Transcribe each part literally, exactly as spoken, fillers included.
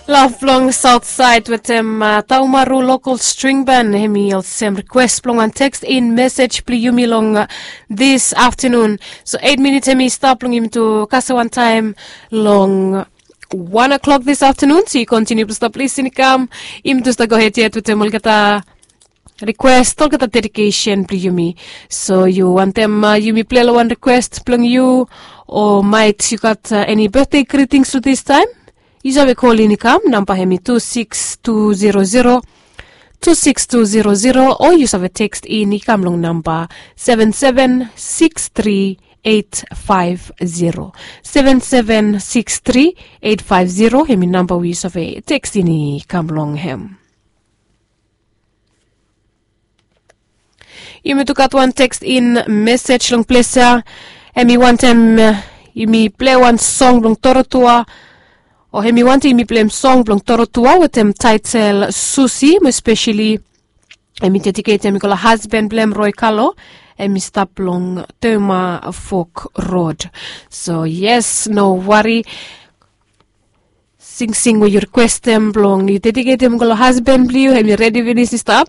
Love blong South Side wetem Taumaru Local String Band, hemi olsem request blong wan text in message blong yumi long this afternoon. So eight minutes hemi stap blong yumi tu kasem wan taem long one o'clock this afternoon. So yu continue blong stap lisin i kam, yumi tu stap go ahead yet wetem olgeta request, olgeta dedication blong yumi. So yu wantem yumi play long wan request blong yu, o maet yu gat eni birthday greetings tu this time? Yu save call in i kam, namba hemi two six two zero zero two six two zero zero, o yu save text in i kam long namba seven seven six three eight five zero. Seven seven six three eight five zero hemi namba we yu save text in i kam long hem. Yumi tu gat wan text in message long ples ya. Hemi wantem yumi play wan song blong Dorotua, o hemi wantem yumi play song blong Dorotua wetem title Susi, mo especially hemi dedicate hemi go long husband blong hem, Roy Kalo, hemi stap long Toma Fork Road. So yes, no worry. Singsing we yu requestem blong yu dediketem go long husband blong yu, hemi redi finis i stap.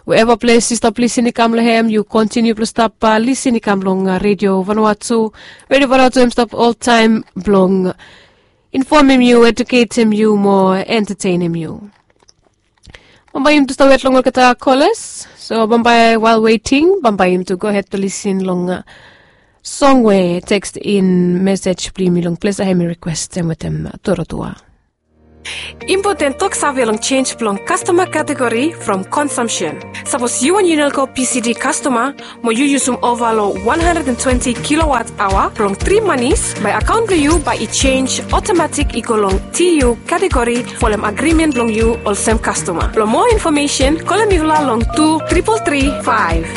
Wherever ples yu stap lisin i kam long hem, yu continue blong stap lisin i kam long Radio Vanuatu. Radio Vanuatu hemi stap oltaem blong infomem yu, eduketem yu, mo entetenem yu. Bambae yumi tu stap wet long olgeta callers. So bambae, while waiting, bambae yumi tu go ahead blong lisin long song we text in message blong yumi long ples ya hemi requestem wetem Dorotua. Impoten tok save long change blong customer category from consumption. Sapos yu wan Unelco P C D customer, mo yu yusum ova long one hundred and twenty kilowatt hour blong three manis, bae account blong yu bae i change automatic i go long T U category folem agreement blong yu olsem customer. Blong more information, kolem mifala long two triple three five.